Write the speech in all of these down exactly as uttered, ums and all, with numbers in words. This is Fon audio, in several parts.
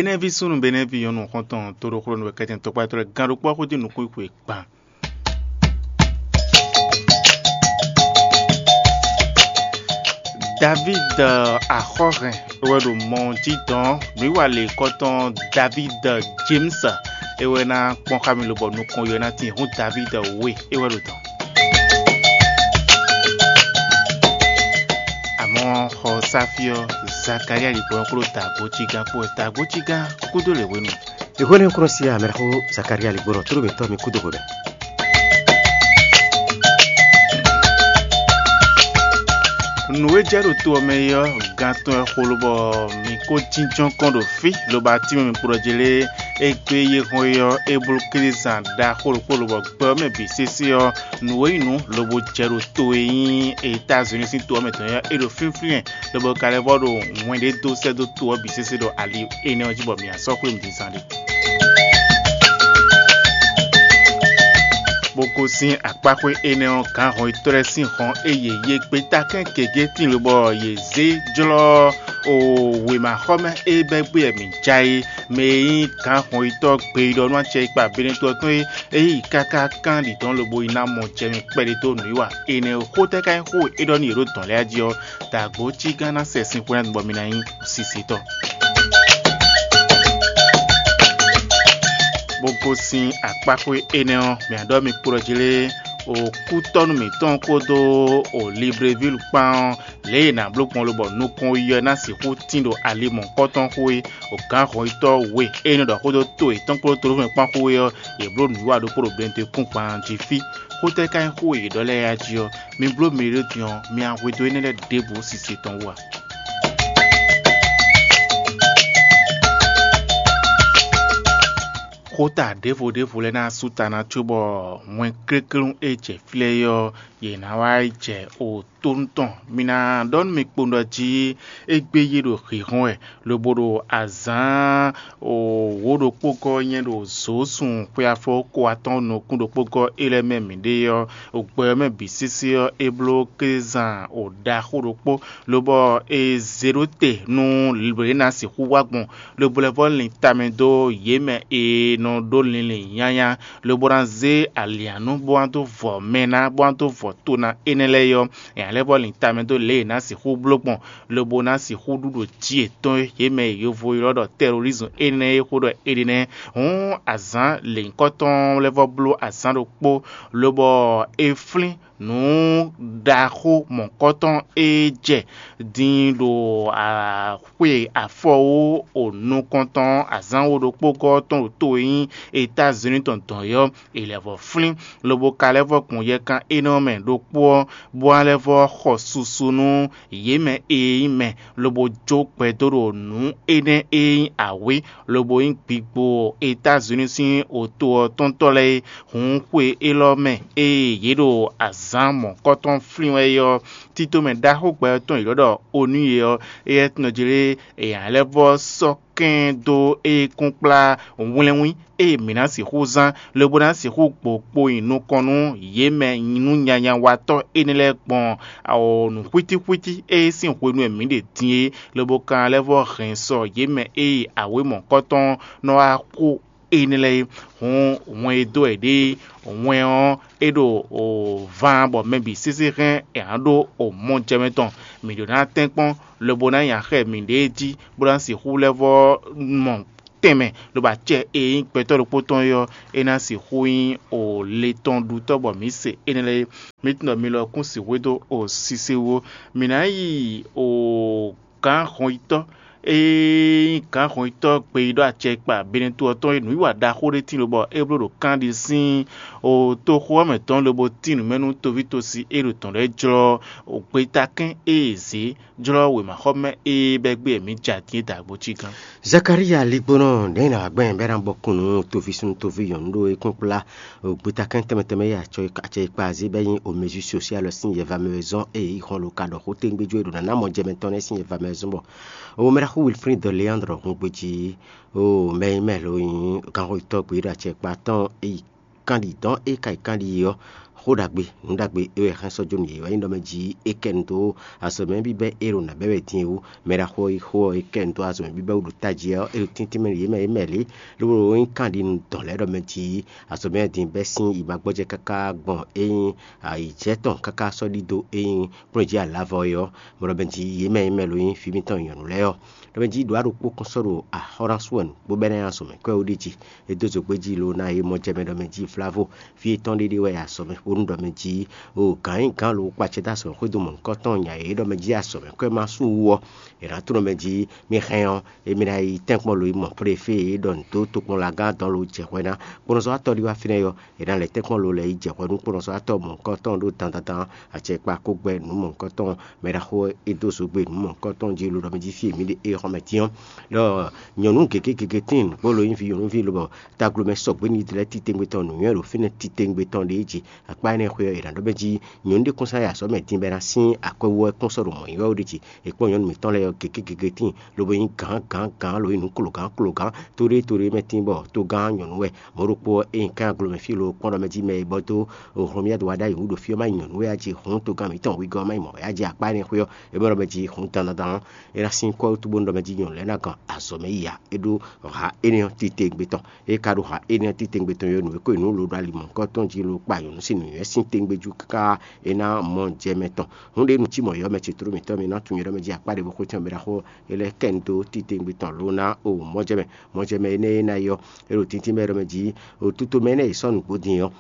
Benɛví súnnu Benɛví nyɔ̌nu xɔ́ntɔn toɖoxlónú wɛ kɛ́tɛn tɔkpá tɔn lɛ́ɛ gán ɖokpó ɔ́ xwedó nukún xwe kpan. David Axɔ́hɛn é wɛ ɖo mɔ jí dɔn nǔwiwa lěkɔ́tɔn David James é wɛ ná kpɔ́n xá mi lobɔ nukɔn yɔ ná tín hú David we é wɛ ɖo dɔn. Amɔ̌ xɔ sáfí ɔ́, Zakalía ɖi gbɔn kpló dǎgbócígán kpó wɛ. Dǎgbócígán kúdó lě hwenu. Ìhwɛ́nɛ́ kúnɔ sí amɛɖaxó Zakalía ligbɔnɔ tló mǐtɔn mi kúdo hwebɛ́. Nǔ e jɛ ɖo to ɔ́ mɛ é ɔ́, gan tɔn wɛ xo lobɔ mǐ ko jínjɔ́n kɔn ɖo fí, lobo atín mɛ mi kpo ɖɔ jlé égbé yé hɔn é ɔ́, é bló Klízan ɖaxó ɖokpó lobɔ gbɛ ɔ́ mɛ bǐ sésé ɔ́, nǔ e nyí nǔ lobo jɛ ɖo to e nyí Etázuní sín to ɔ́ mɛ tɔn é ɔ́, é ɖo fínflín lobo ka lɛ́ vɔ ɖo wɛn ɖé dó sɛ́ dó to ɔ́ bǐ sésé ɖo ali énɛ́ ɔ́ jí bɔ mǐ ná sɔ́ xwé nǔdizan ɖé. Bó gosín akpáxwé énɛ́ ɔ́, gǎnhɔnyitɔ́ lɛ́ɛ sín hɔn e yě yí gbeta kɛ́n gěgé tíin lobɔ yě zé jlɔ́ o wěmaxɔmɛ e bɛ́ gbé wɛ mǐ ja é, mɛ e nyí gǎnhɔnyitɔ́ gbeyíɖɔ nú acɛ e kpa Benɛto ɔ́ tɔn é, é yi káká kán ɖi dɔ̌n lobo yi ná mɔ jɛ mì kpɛɖé dó nǔwiwa énɛ́ xó tɛ́ ka nyí xó e é ɖɔ nú yě ɖo dɔ̌n lɛ́ɛ jí ɔ́, dǎgbó cí gán ná sɛ sin xwé ná bɔ mi ná nyí sisitɔ́. Bó gosín akpáxwé énɛ́ ɔ́, mǐ ɖɔ mi kplɔ́ jí lé, o kútɔ́nú mǐtɔn kpódó o Libreville kpán ɔ́, lě e è nǎ bló gbɔn lobɔ nukɔn yiyi ɔ́ ná sixú tín ɖo ali mɔ̌hunkɔtɔn xo é, o gǎn hɔnyitɔ́ we e nɔ ɖɔ xó dó to yětɔn kpódó Tolófɛn kpán xó é ɔ́, yě bló nǔwiwa ɖokpó ɖo Benɛto kún gban jí fí. Xó tɛ́ ka nyí xó e yě ɖɔ lɛ́ɛ a jí ɔ́? Mi bló mɛ e ɖo din ɔ́, mi wá hwedó énɛ́ lɛ́ɛ ɖěbǔ sise tɔn wú a? Xóta ɖěvo ɖěvo lɛ́ɛ ná sú ta ná cóbɔ wɛn kléklún e jɛ fí lɛ́ɛ é ɔ́, yě ná wá yi jɛ o tónú tɔn. Mi ná ɖɔ nú mi kpowun ɖɔ jí égbé yí ɖo hǐhɔ́n wɛ, lobo ɖo azǎn wǒ ɖokpó gɔ́ nyɛ ɖo zǒsun xwe afɔ ko atɔ́ɔ́n nukún ɖokpó gɔ́ é lɛ́ɛ mɛ mǐɖée ɔ́, gbɛ ɔ́ mɛ bǐ sésé ɔ́, é bló kézan ɖaxó ɖokpó, lobɔ è zě ɖó te nú lě e ná sixú wá gbɔn, lobo lɛ́ vɔ́ lin tamɛ dó yě mɛ e nɔ ɖó linlin nyanya, lobo ná zé alǐanú bó wá dó vɔ mɛ ná, bó wá dó vɔ to ná énɛ́ lɛ́ɛ é ɔ́, è nǎ lɛ́ vɔ́ lin tamɛ dó lě e è nǎ sixú bló gbɔn, lobo ná sixú ɖu ɖo jí yětɔn e yě mɛ e yovo ylɔ́ ɖɔ tɛrorizmu énɛ́ e xó ɖɔ è ɖe nɛ́. Hǔn azǎn lěnyíkɔtɔn lɛ́ vɔ́ bló azǎn ɖokpó, lobɔ è flín nǔ ɖaxó mɔ̌kɔtɔn e jɛ din ɖo xwe afɔwú o nukɔntɔn azǎn wo ɖokpó gɔ́ tɔn ɖo to e nyí Etázuní tɔn dɔn é ɔ́, è lɛ́ vɔ́ flín, lobo ka lɛ́ vɔ́ gbɔn yɛkan énɛ́ ɔ́ mɛ ɖokpó ɔ́, bó wá lɛ́ vɔ́ xɔ susu nú yě mɛ e nyí mɛ, lobo jó gbɛdó ɖo nǔ énɛ́ e nyí awě, lobo nyí gbigbo Etázuní sín oto ɔ́ tɔ́ntɔ́ lɛ́ɛ é. Hǔn xwe élɔ́ mɛ e yě ɖo azǎn mɔ̌kɔtɔn flín wɛ é ɔ́, títomɛ ɖaxó gbɛ ɔ́ tɔn yě ɖɔ ɖɔ Onúye ɔ́, éyɛ́ tɔn jlé è nǎ lɛ́ vɔ́ sɔ́ kɛn dó é kún kplá wlɛ́nwín e mǐ ná sixú zán, lobo ná sixú gbo kpo nyi nukɔn nú yě mɛ nú nyanyawatɔ́ énɛ́ lɛ́ɛ gbɔn nǔxwítíxwítí e sín hwenu e mǐ ɖe din é, lobo ka lɛ́ vɔ́ hɛn sɔ yě mɛ e awě mɔ̌kɔtɔn nɔ wá xo énɛ́ lɛ́ɛ é. Hǔn wɛn e dó wɛ ɖě wɛn ɔ́ é ɖo ván bɔ mɛ bǐ sésé hɛn è nǎ ɖó mɔ jɛmɛ tɔn. Mǐ ɖó ná tɛ́nkpɔ́n lobo ná nya xɛ mǐɖée jí, bó ná sixú lɛ́ vɔ́ mɔ tɛnmɛ, lobo acɛ e nyí gbɛtɔ́ ɖokpó tɔn é ɔ́, é ná sixú nyí o le tɔn ɖutɔ́ bɔ mǐ se énɛ́ lɛ́ɛ é. Mǐ tunwun ɖɔ mi lɔ kún sixú dó o sise wú ó. Mǐ ná yi o gǎn hɔnyitɔ́ e nyí gǎn hɔnyitɔ́ gbeyíɖɔ acɛkpa Benɛto ɔ́ tɔn e nǔwiwa ɖaxó ɖé tín lobɔ é bló ɖo kanɖi sín o toxo ɔ́ mɛ tɔn lobo tín nǔ mɛ nú toví tosi e ɖo tɔn lɛ́ɛ jlɔ́ o gbetakɛ́n e è zě jlɔ́ wěmaxɔmɛ e bɛ́ gbé mǐ jɛ atín e dǎgbó cí gán. Zakalía ligbónɔ nɛ̌ nǎ gbɛn bɛ́ ná bɔ kun nú toví súnnu toví nyɔ̌nu ɖó é kún kplá gbetakɛ́n tɛnmɛ tɛnmɛ e acɛ e kpa azé bɛ́ nyí o mézu sosial sín yɛvamɛ wɛ zɔ́n e yi hɔn lo ka ɖɔ xó téŋgbéjú e ɖo nǎ ná mɔ jɛ mɛtɔn nɛ́ sín yɛvamɛ wɛ zɔ́n bɔ o mɛ ɖaxó Wilfrid Leandre hun gbejí o mɛ e mɛ lo nyí gánxɔyítɔ́ gbeyíɖɔ acɛ e kpa tɔn e yi kanɖi dɔn e ka yi kanɖi ɔ́ Xó ɖagbe, nǔ ɖagbe é wɛ hɛn sɔ́ jó nú yě wɛ nyí ɖɔ mɛ jí é kɛ nu dó azɔ̌mɛ bíbɛ́ é ɖo nǎ bɛ́ wɛ din é wú. Mɛ ɖaxó e xó ɔ́ é kɛ nu dó azɔ̌mɛ bíbɛ́ wú ɖo tají ɔ́, é ɖo tíntín mɛ ɖo yě mɛ yě mɛ lě, lobo ɖo nyí kanɖinu dɔn lɛ́ɛ ɖɔ mɛ jí azɔ̌mɛ din bɛ́ sín yi ma gbɔjɛ́ káká gbɔn é nyí ayǐjɛ tɔn káká sɔ́ ɖidó é nyí kplɔ́n jí alǎvɔ é ɔ́, mɔ ɖɔ mɛ jí yě mɛ yě mɛ lo nyí fí mǐtɔn nyɔ̌nu lɛ́ɛ ɔ́. Ɖɔ mɛ jí ɖǒ aɖokpó kún sɔ́ ɖo axɔ́ ná sú wɛ nǔgbó bɛ́ ná nyi azɔ̌mɛ kɔ́ é wú ɖi jí. É dó zǒgbé jí lo ná é mɔ jɛ mɛ ɖɔ mɛ jí Vlavo fí étɔn ɖéɖé wɛ azɔ̌mɛ bónú ɖɔ mɛ jí o gǎn nyí gǎn lo kpacɛ dó azɔ̌mɛ xwédo mɔ̌hunkɔtɔn nya e ɖɔ mɛ jí azɔ̌mɛ kɔ́ é ma sú wú ɔ́, è nǎ tunɔ mɛ jí mì hɛn ɔ́, émí ná yi tɛ́nkpɔ́n lo yi mɔ préfé e ɖɔ nǔ dó tokpɔnlagán dɔn lo jɛ hwɛ ná kpɔ́nɔzɔ́watɔ́ ɖi wá fínɛ́ ɔ́, è nǎ lɛ́ tɛ́nkpɔ́n lo lɛ́ yi jɛ hwɛ nú kpɔ́nɔzɔ́watɔ́ mɔ̌hunkɔtɔn ɖó dandandan acɛkpa kó gbɛ́ nǔ mɔ̌hunkɔtɔn mɛ ɖaxó e dó zǒgbe nǔ mɔ̌hunkɔtɔn jí lo ɖɔ mɛ jí fí e mǐ ɖe é xɔmɛ tín ɔ́. Ɖɔ nyɔ̌nu gěgé gěgé tíin nǔgbó lo nyí vǐ nyɔ̌nuví lobɔ taglomɛ sɔgbe ní Izlayɛ́li titewungbe tɔn nǔnywɛ́ ɖo fínɛ́ titewungbe tɔn ɖě jí. Akpá énɛ́ xwé ɔ́, è nǎ ɖɔ mɛ jí nyɔ̌nu ɖé kún sɔ́ yi azɔ̌ mɛ din bɔ é ná sín akwɛ́wú ɔ́ kún sɔ́ ɖo mɔ̌ nyi wɛ ó ɖi jí. È kpɔ́n nyɔ̌nu mǐtɔn lɛ́ɛ ɔ́ gěgé gěgé tíin lobo nyí gǎn gǎn gǎn lo nyí nǔ klogǎn klogǎn tóɖétóɖé mɛ tíin bɔ togán nyɔ̌nu wɛ. Mɔ̌ ɖokpó ɔ́, ényí kán aglo mɛ fí lo kpɔ́n ɖɔ mɛ jí mɛ e bɔ dó Hlɔ̌myádu wá ɖ'ayǐ wú ɖo fí ɔ́ má nyí nyɔ̌nu wɛ a jí hǔn togán mǐtɔn wegɔ́ ɔ́ má nyí mɔ̌ wɛ a jí akpá énɛ́ xwé ɔ́, é bɔ ɖɔ mɛ jí hǔn dandandan ɔ́, é ná sín kɔ́ wútu bónú ɖɔ mɛ jí nyɔ̌nu lɛ́ɛ ná gɔn azɔ̌ mɛ yi ǎ. É ɖó ha énɛ́ ɔ́ titewungbe tɔn. É ka ɖo ha énɛ́ ɔ́ titewungbe tɔn ɔ́, nǔ e ko nyi nǔ lo ɖo ali mɔ̌hunkɔtɔn jí lo kpa nyɔ̌nu sín nǔnywɛ́ sín tewungbe jú káká é ná mɔ jɛ mɛ tɔn. Hǔn ɖě nu cí mɔ̌ yɔ́ mɛ ce tló mǐtɔn mì ná tunwun nyɛ ɖɔ mɛ jí akpá ɖěvo xwé tɔn mɛ ɖaxó é lɛ́ kɛ nu dó titewungbe tɔn lo ná o mɔ̌ jɛ mɛ. Mɔ̌ jɛ mɛ énɛ́ e ná yi ɔ́, é ɖo tíntín mɛ ɖɔ mɛ jí o tuto mɛ énɛ́ e sɔ́ nǔgbó din ɔ́,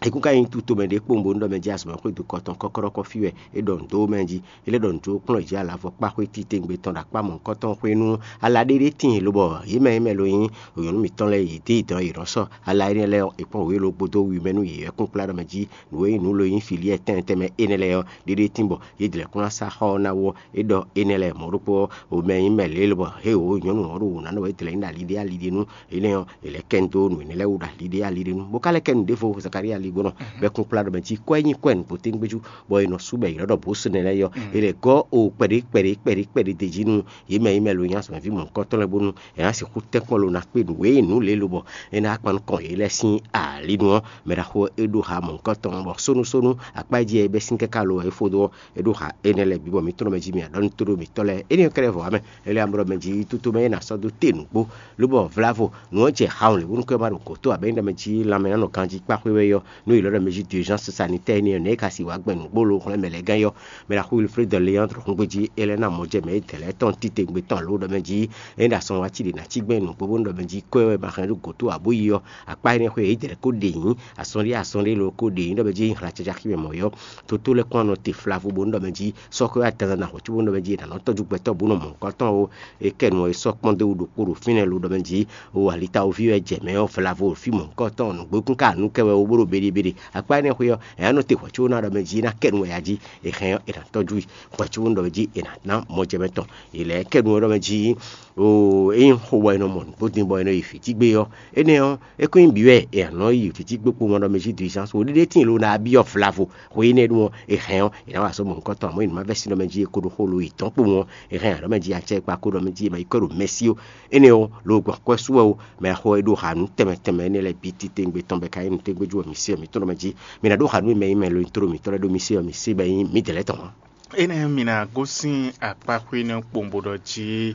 é kún ka nyí tuto mɛ ɖě kpowun bónú ɖɔ mɛ jí azɔ̌ mɛ xwédo kɔtɔn kɔ́kɔ́ɖɔ́kɔ́ fí wɛ é ɖɔ nǔ dó mɛ jí. É lɛ́ ɖɔ nǔ dó kplɔ́n jí alǎvɔ kpá xwé titewungbe tɔn ɖo akpá mɔ̌hunkɔtɔn xwé nú ala ɖé ɖé tíin lobɔ yě mɛ e mɛ lo nyí nyɔ̌nu mǐtɔn lɛ́ɛ yě dé yi dɔ̌n yě nɔ sɔ́ ala énɛ́ lɛ́ɛ ɔ́, è kpɔ́n wě lo gbódó wi mɛ nú yě wɛ kún kplá ɖɔ mɛ jí nǔ e nyí nǔ lo nyí filíɛ tɛnmɛ tɛnmɛ énɛ́ lɛ́ɛ ɔ́, ɖéɖé tín bɔ yě dlɛ̌ kún ná sá xɔ ɔ́ ná wú ɔ́, é ɖɔ énɛ́ lɛ́ɛ mɔ̌ ɖokpó ɔ́, o mɛ nyí mɛ lě lobɔ hé o nyɔ̌nu ɔ́ ɖo wǔ ná nɔ wɛ é dlɛ̌ nyí ɖo ali ɖé ali ɖé nú énɛ́ ɔ́, è lɛ́ kɛ nu dó nǔ énɛ́ lɛ́ɛ wú ɖo ali ɖé ali ɖé nú. Bó ka lɛ́ kɛ nu ɖěvo Zakalía ali gbɔn nɔ bɔ é kún kplá ɖɔ mɛ jí kɔ́ é nyí kɔ́ ɛ nǔgbó tégbéjú bɔ è nɔ sú bɔ è ylɔ́ ɖɔ Bosnɛ lɛ́ɛ ɔ́, è lɛ̌ gɔ́ o kpɛɖé kpɛɖé kpɛɖé kpɛɖé d'é jí nú yě mɛ e mɛ lo nyí azɔ̌mɛví mɔ̌hunkɔtɔn lɛ́ɛ bónú è nǎ sixú tɛ́nkpɔ́n lo ná kpé nǔ e nyí nǔ lě lobɔ é ná kpan nukɔn yě lɛ́ɛ sín alǐnu ɔ́. Mɛ ɖaxó e ɖó ha mɔ̌hunkɔtɔn bɔ sónúsónú akpá e jí e bɛ́ sín káká lo wɛ é fó dó ɔ́, é ɖó ha énɛ́ lɛ́ɛ bǐ bɔ mǐ tlɔ́n mɛ jí mì aɖɔ́ nú tóɖó mǐtɔn lɛ́ɛ. Énɛ́ ɔ́ kɛ́ɖɛ́ vɔ wá mɛ, é lɛ́ amlɔ mɛ jí tito mɛ e nǎ sɔ́ dó te nǔgbó, lobɔ vlavo nǔ ɔ́ jɛ hawun lě bónú kɔ́ ma ɖo gǒ tó abɛ̌ nyí ɖɔ mɛ jí lanmɛ ná nɔ ganjí kpá xwé wɛ ɔ́, nú è lɔ́ ɖɔ mɛ jí d'urgence sanitaire énɛ́ ɔ́, nɛ̌ é ka si wǎ gbɛn nǔgbó lo hwlɛ́n mɛ lɛ́ɛ gán é ɔ́, mɛ ɖaxó Wilfred de Léandre húngbéjí é lɛ́ ná mɔ jɛ mɛ é dɛ̌ lɛ́ɛ tɔn titewungbe tɔn alo ɖɔ mɛ jí é ɖo asɔn wá cí ɖě ná cí gbɛn nǔgbó bónú ɖɔ mɛ jí kɔ́ ɛ wɛ ma hɛn ɖó gǒ tó abǒ yi ɔ́, akpá énɛ́ xwé é dɛ̌ lɛ́ɛ kó ɖe nyǐ, asɔn ɖé asɔn ɖé lo kó ɖe nyǐ ɖɔ mɛ jí é nyí hla caca xí mɛ mɔ̌ é ɔ́, toto lɛ́ kɔn nɔ te flavo bónú ɖɔ mɛ jí sɔ́ xwé wá dandan ná hwɛ̌ cóbónú ɖɔ mɛ jí è nǎ nɔ tɔ́jú gbɛtɔ́ bó nɔ mɔ nukɔn tɔn ó. É kɛ nu ɔ́, é sɔ́ kpɔ́n dó wú ɖokpó ɖo fínɛ́ lo ɖɔ mɛ jí o alitawoví wɛ jɛ mɛ ɔ́ vlavo fí mɔ̌hunkɔtɔn nǔgbó kún ka nǔ kɛ wɛ ó bó ɖo beɖebeɖe. Akpá énɛ́ xwé ɔ́, è nǎ nɔ te hwɛ̌ có ná ɖɔ mɛ jí é ná kɛ nu wɛ ya jí, è hɛn ɔ́, è nǎ tɔ́jú i. Hwɛ̌ có nɔ ɖɔ mɛ jí è nǎ ná mɔ jɛ mɛ tɔn. È lɛ̌ kɛ nu ɔ́ ɖɔ mɛ jí o é nyí xo bɔ è nɔ mɔ nǔgbó din bɔ è nɔ yi fǐtígbe ɔ́, énɛ́ ɔ́, é kún nyí bǐ wɛ è nǎ nɔ yi fǐtígbe kpowun ɔ́ ɖɔ mɛ jí dǐzán so ɖéɖé tíin lo ná byɔ́ vlavo. Xwe énɛ́ ɖó ɔ́, è hɛn ɔ́, è nǎ wa azɔ̌ mɔ̌hunkɔtɔn, amɔ̌ è nǐ má vɛ́ sin ɖɔ mɛ jí è ko ɖo xo lo yi dɔ̌n kpowun ɔ́, è hɛn ǎ ɖɔ mɛ jí acɛ kpa ko ɖɔ mɛ jí è ma yi kɔ́ ɖo mɛsí ó. Énɛ́ ɔ́, lo gbɔn kwɛ́ sú wɛ ó, mɛ xo e ɖó ha nǔ tɛnmɛ tɛnmɛ énɛ́ lɛ́ɛ bǐ titewungbe tɔn bɔ è ka nyí nǔ tégbéjú wɛ mǐ se ɔ́, mǐ tɔn ɖɔ mɛ jí mǐ ná ɖó ha nú mɛ e mɛ lo nyí tló mǐtɔn lɛ́ɛ ɖó mì se ɔ́, mǐ se bɔ é nyí mǐdɛɛ lɛ́ɛ tɔn ǎ. Énɛ́ mǐ ná gosín akpáxwé énɛ́ kpowun bó ɖɔ jí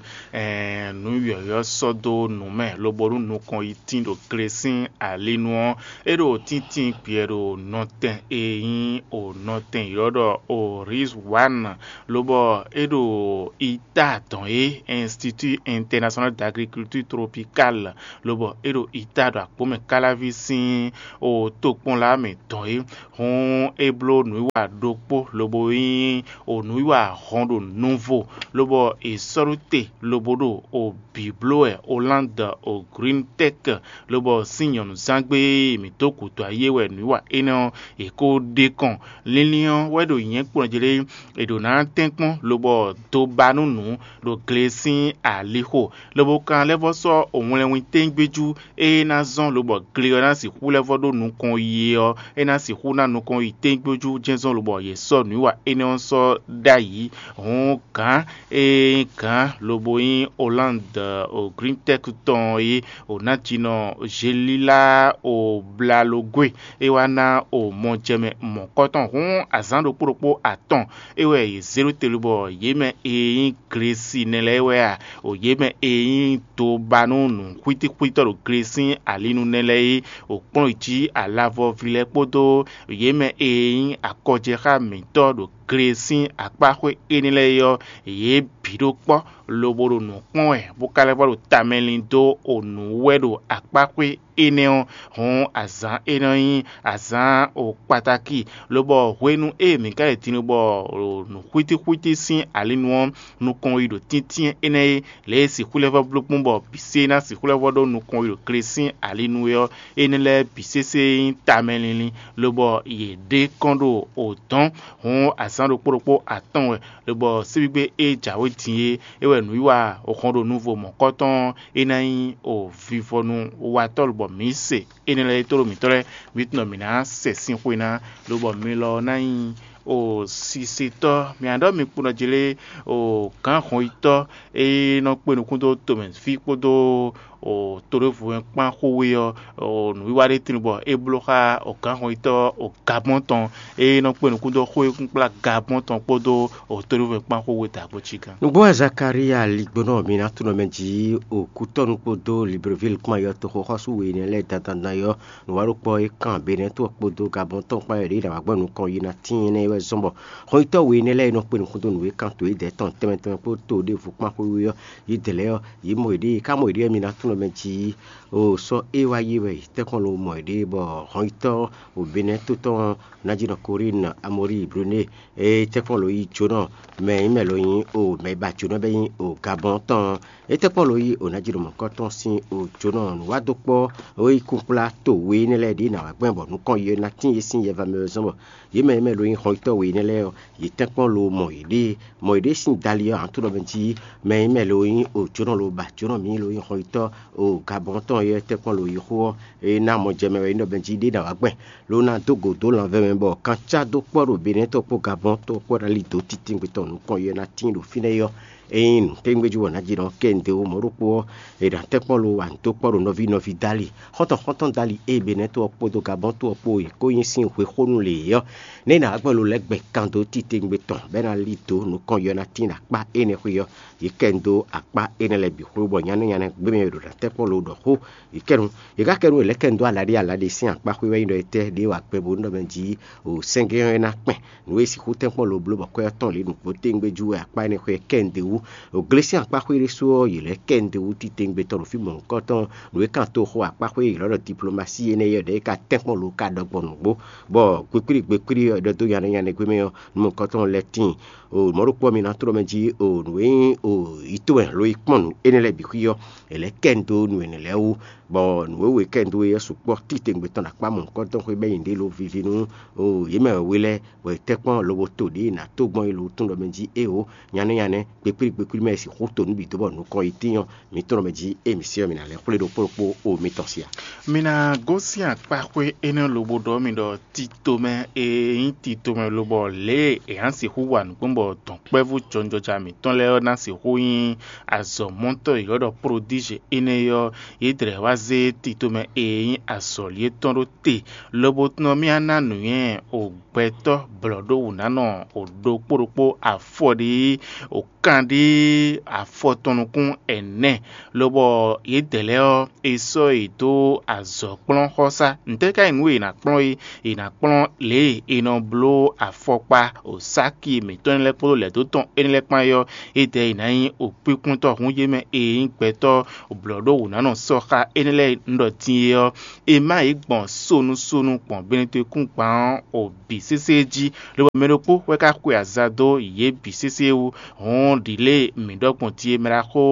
nǔ yɔ̌yɔ́ sɔ́ dó nǔ mɛ, lobo nú nukɔn yi tín ɖo gle sín alinu ɔ́, é ɖo tíntín gbɛ ɖo nɔtɛn e nyí o nɔtɛn ylɔ́ ɖɔ o Rizwan, lobɔ é ɖo ita dɔn é Institut International d'Agriculture Tropicale, lobɔ é ɖo ita ɖo akpó mɛ káláví sín o tokpɔnla mɛ dɔn é. Hǔn é bló nǔwiwa ɖokpó lobo nyí o nǔwiwa hɔn ɖo nuvo, lobɔ è sɔ́ ɖó te lobo ɖo o bǐ bló wɛ Hollande o Green Tech, lobɔ sín nyɔ̌nuzán gbe e mǐ dó gǔdo ayé wɛ nǔwiwa énɛ́ ɔ́ è ko ɖe kɔn. Linlin ɔ́ wɛ ɖo nyɛ̌ kplɔ́njlé è ɖǒ ná tɛ́nkpɔ́n lobɔ dó ba nú nǔ ɖo gle sín alixo, lobo kan lɛ́ vɔ́ sɔ́ wlɛnwin tégbéjú e ná zɔ́n lobɔ gle ɔ́ ná sixú lɛ́ vɔ́ ɖó nukɔn yi é ɔ́, é ná sixú ná nukɔn yi tégbéjú jɛ́n zɔ́n lobɔ yě sɔ́ nǔwiwa énɛ́ ɔ́ sɔ́ ɖ'ayǐ. Hǔn gǎn e nyí gǎn lobo nyí Hollande o Green Tech tɔn e o nǎjínɔ Zelila o Blalogwe e wá ná o mɔjɛmɛ mɔ̌kɔtɔn hǔn azǎn ɖokpó ɖokpó atɔn é wɛ yě zé ɖó te lobɔ yě mɛ e nyí Glesi nɛ lɛ́ɛ wɛ a? O yě mɛ e nyí dobanú nǔxwítíxwítɔ́ ɖo Glesi sín alinu nɛ lɛ́ɛ é, o kplɔ́n yi jí alavɔví lɛ́ɛ kpódó yě mɛ e nyí akɔjɛxá mǐtɔn ɖo Glesi sín akpáxwé énɛ́ lɛ́ɛ é ɔ́, yě bǐ ɖó kpɔ́, lobo ɖo nǔ kpɔ́n wɛ, bó ka lɛ́ vɔ ɖo tamɛ lin dó o nǔ wɛ ɖo akpáxwé énɛ́ ɔ́. Hǔn azǎn énɛ́ ɔ́ nyí azǎn o kpatáki, lobɔ hwenu e mǐ ka yi din bɔ nǔxwítíxwítí sín alinu ɔ́ nukɔn yi ɖo tíntín énɛ́ é, lě e sixú lɛ́ vɔ bló kpɔ́n bɔ bǐ sé ná sixú lɛ́ vɔ ɖó nukɔn yi ɖo Glesi sín alinu é ɔ́, énɛ́ lɛ́ɛ bǐ sésé nyí tamɛ linlin, lobɔ yě ɖe kɔn ɖo o dɔ̌n. Hǔn azǎn ɖokpó ɖokpó atɔn wɛ, lobɔ síbígbé e jǎwe din é, é wɛ nǔwiwa hɔn ɖo nuvo mɔ̌kɔtɔn ɔ́, é ná nyí o vivɔnu watɔ́ lobɔ mǐ se énɛ́ lɛ́ɛ e tlóló mǐtɔn lɛ́ɛ, mǐ tunwun ɖɔ mǐ ná sɛ sín xwe ná, lobɔ mi lɔ ná nyí o sisitɔ́. Mǐ ná ɖɔ mi kpo nɔ jlé o gǎn hɔnyitɔ́ e nɔ kpe nukún dó tomɛví kpódó o toɖévú kpán xówé ɔ́, o nǔwiwa ɖé tín bɔ é bló xá o gǎn hɔnyitɔ́ o Gabɔ́n tɔn e nɔ kpe nukún dó xó e kún kplá Gabɔ́n tɔn kpódó o toɖévú kpán xówé dǎgbó cí gán. Nǔgbó wɛ Zakalía ligbónɔ mi ná tunɔ mɛ jí o kútɔ́nu kpódó Libreville kpán yɔ toxoxɔ́sú we énɛ́ lɛ́ɛ dandan ɔ́, nǔwa ɖokpɔ́ e kan Benɛ́to ɔ́ kpódó Gabɔ́n tɔn kpán yɔ ɖě yi nǎ wá gbɔ nukɔn yi ná tíin énɛ́ wɛ zɔ́n bɔ hɔnyitɔ́ we énɛ́ lɛ́ɛ e nɔ kpe nukún dó nǔ e kan to yědɛɛ tɔn tɛnmɛ tɛnmɛ kpó to ɖěvo kpán xwé wú ɔ́, yědɛɛ lɛ́ɛ ɔ́, yě mɔ yěɖée, yě ká mɔ yěɖée mi ná tunɔ mɛ jí o sɔ́ é wá yí wɛ tɛ́nkpɔ́n lo mɔ yěɖée bɔ hɔnyitɔ́ o Benɛ́to tɔn ná jí nɔ Korín Amɔríi Blonée e tɛ́nkpɔ́n lo yí jónɔ mɛ nyí mɛ lo nyí o mɛ e ba jónɔ bɛ́ nyí o Gabɔ́n tɔn. Étɛ́ kpɔ́n lo yí o ná jí ɖo mɔ̌kɔ́ tɔn sín o jónɔ nǔwádókpɔ́ e yí kunkplá to we énɛ́ lɛ́ɛ ɖě ná wá gbɛn bɔ nukɔn yi ná tín yě sín yɛva mɛ wɛ zɔ́n bɔ yě mɛ e mɛ lo nyí xɔnyitɔ́ we énɛ́ lɛ́ɛ ɔ́, yě tɛ́nkpɔ́n lo mɔ yě ɖée, mɔ yě ɖée sín dali ɔ́, ǎ tunɔ mɛ jí mɛ e mɛ lo nyí o jónɔ lo ba jónɔ mǐ lo nyí xɔnyitɔ́ o Gabɔ́n tɔn e tɛ́nkpɔ́n lo yí xó ɔ́, é ná mɔ jɛ mɛ wɛ é nɔ mɛ jí ɖé ná wá gbɛn, ló ná dó gǒ dó lanvɛ́ mɛ bɔ kan cá dó kpɔ́ ɖo Benɛ́tɔn kpó Gabɔ́n tɔn kpó ná lí dǒ titewungbe tɔn nukɔn yi ɔ́ ná tíin ɖo fínɛ́ é ɔ́, ényí nǔtɛ́ngbéjú wɔ ná ji nɔ kɛ nǔɖé ó mɔ̌ ɖokpó ɔ́, è nǎ tɛ́nkpɔ́n lo wa nǔ dó kpɔ́ ɖo nɔví nɔví dó ali. Xɔ́ntɔn xɔ́ntɔn dó ali ée Benɛ́tɔn ɔ́ kpódó Gabɔ́n to ɔ́ kpó è kó nyí sín hwexónú lě é ɔ́, nɛ́ è nǎ wá gbɛn lo lɛ́ gbɛ kan dó titewungbe tɔn, bɔ é ná lí dǒ nukɔn yi ɔ́ ná tíin ɖo akpá énɛ́ xwé ɔ́, yě kɛ nú dó akpá énɛ́ lɛ́ɛ bǐ xwé bɔ nyané nyané gbé mɛ e ɖo ná tɛ́nkpɔ́n lo ɖɔ xó. Yě kɛ nú yě ká kɛ nú è lɛ́ kɛ nú dó alaɖé alaɖé sín akpá xwé wɛ nyí ɖɔ étɛ́ ɖě wa gbɛn bó nú ɖɔ mɛ jí o sɛ́ngɛ́ ɔ́ é ná kpɛn. Nǔ e sixú tɛ́nkpɔ́n lo bló bɔ kwɛ́ ɔ́ tɔn lě nǔgbó téŋgbé jú wɛ akpá énɛ́ xwé kɛ nǔɖé wú. O glé sín akpá xwé ɖésú ɔ́, yě lɛ́ kɛ nǔɖé wú titewungbe tɔn ɖo fí mɔ̌hunkɔtɔn. Nǔ e kan to xo akpá xwé yě ylɔ́ ɖɔ diplomasí énɛ́ é ɔ́, ɖɛ̌ é ka tɛ́nkpɔ́n lo ka ɖɔ gbɔn nǔgbó, bɔ gbekwíɖi gbekwíɖi ɔ́ è ɖɔ dó nyaɖé nyaɖé gbé mɛ ɔ́, nú mɔ̌hunkɔtɔn lɛ́ tíin. O mɔ̌ ɖokpó ɔ́, mi ná tló mɛ jí o nǔ e nyí o yí towe ló yi kpɔ́n nǔ énɛ́ lɛ́ɛ bǐ xwí ɔ́, è lɛ́ kɛ nǔ dó nǔ énɛ́ lɛ́ɛ wú, bɔ nǔ e wú è kɛ nǔ dó é ɔ́ sukpɔ́ titewungbe tɔn ɖo akpá mɔ̌hunkɔtɔn xwé bɔ é nyí nǔɖé ló víví nú o yě mɛ wɛ we lɛ́ɛ, bɔ è tɛ́nkpɔ́n lobo to ɖě è nǎ tó gbɔn é lo tún ɖɔ mɛ jí éeǒ, nyanɛ́ nyanɛ́, kpekpíɖi kpekpíɖi mɛ e sixú to nǔ bǐ dó bɔ nǔkɔn yi tíin ɔ́, mǐ tɔn ɖɔ mɛ jí é mǐ se ɔ́, mǐ ná lɛ́ xwlé ɖokpó ɖokpó o mitɔn sia. Mi ná gosín akpáxwé énɛ́ lobo ɖɔ mi ɖɔ titomɛ e nyí titomɛ lobɔ lě e è nǎ sixú wa nǔ gbɔn bɔ dɔ̌nkpɛvú jɔnjɔja mǐtɔn lɛ́ɛ ɔ́ ná sixú nyí azɔ̌mɔtɔ́ e è ylɔ́ ɖɔ prodíze énɛ́ é ɔ́, yě dlɛ̌ wá zé titomɛ e nyí azɔ̌li étɔn ɖó te, lobo tɔn mì ná nǔnywɛ́ o gbɛtɔ́ blɔ̌ɖówǔnánɔ o ɖokpó ɖokpó afɔɖiyi o kanɖí afɔ tɔn nukún ɛnɛ, lobɔ yědɛɛ lɛ́ɛ ɔ́, è sɔ́ yě dó azɔ̌kplɔ́nxɔsá. Ntɛ́ ka nyí nǔ e è nǎ kplɔ́n é? È nǎ kplɔ́n lě e è nɔ bló afɔkpa o sáki mǐtɔn lɛ́ɛ kpódó lɛ̌dó tɔn énɛ́ lɛ́ɛ kpán é ɔ́, édɛɛ è nǎ nyí o kpínkpɔ́ntɔ́ hun yé mɛ e nyí gbɛtɔ́ blɔ̌ɖówǔnánɔ sɔxa énɛ́ lɛ́ɛ un ɖɔ din é ɔ́, è má yě gbɔn sonu sonu gbɔn benetokúngban ɔ́ o bǐ sésé jí, lobɔ mɛ ɖokpó wɛ ka xwe aza dó yě bǐ sésé wú. Hɔn ɖǐ Lě e mǐ ɖɔ gbɔn din é, mɛ ɖaxó